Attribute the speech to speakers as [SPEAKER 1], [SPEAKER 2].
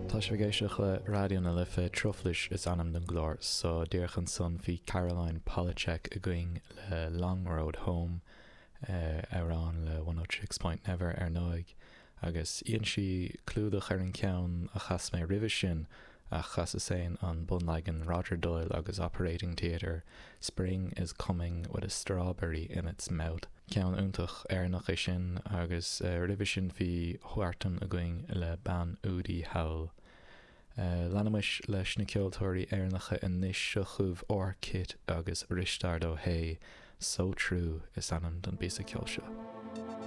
[SPEAKER 1] Tá sibh ag éisteacht le Raidió na Life, Truflais is ainm don gclár so. Díreach ansan bhí Caroline Polachek againn le Long Road Home, amhrán le One Eight Six Point Never ar ndóigh, agus dhein sí clúdach ar an cheann a chas mé roimhe sin ach chasas féin an bunleagan Roger Doyle agus Operating Theatre, Spring is Coming with a Strawberry in its Mouth. Ceann iontach Éireannach é sin agus roimhe sin bhí Huartan againn le Bean Údaí Thall. Leanaimis leis na ceoltóirí Éireannacha anois, seo chugaibh R-Kit agus Risteárd Ó hAodha, So True is ainm don bpíosa ceoil seo.